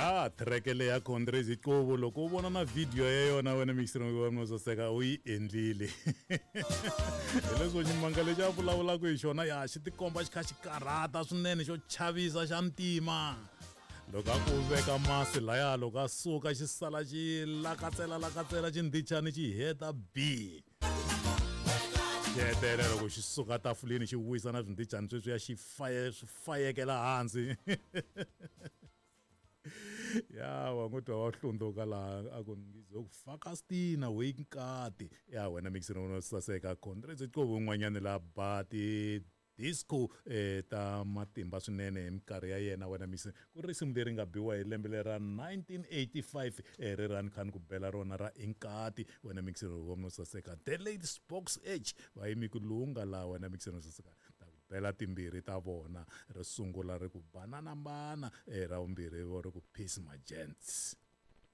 Ya track leya ya Condrezi Qobo loko u vona na video ya yona wena mixer wa no saseka u yi endlile. Hi leswo ximanga lexi a vulavulaka hi xona ya xi tikomba xi kha xi karhata swinene xo chavisa xa ntima. Loko a ku veka masi laya loko a suka xi sala xi lakatsela lakatsela xindhichani xi heta b. Xi hetelela loko xi suka tafuleni xi wisa na swindhichani sweswiya xi faye swi fayekela hansi. Ya wa n'wi twa wa hlundzuka laha a ku ngizokufaka stina we nkati. Ya wena mixini no saseka Condrezi Qobo un'wanyani la ba ti disco ta matimba swinene hi minkarhi ya yena wena mixini ku ri risimu leri nga biwa hi lembe lera 1985 ri ra ni kha ni ku bela rona ra inkati wena mixini wa no saseka the late Spox Edge va yimi ku lunga laha wena mixini no saseka ta ku bela timbirhi ta vona ri sungula ri ku banana mbana ra vumbirhi vo ri ku peace my gents.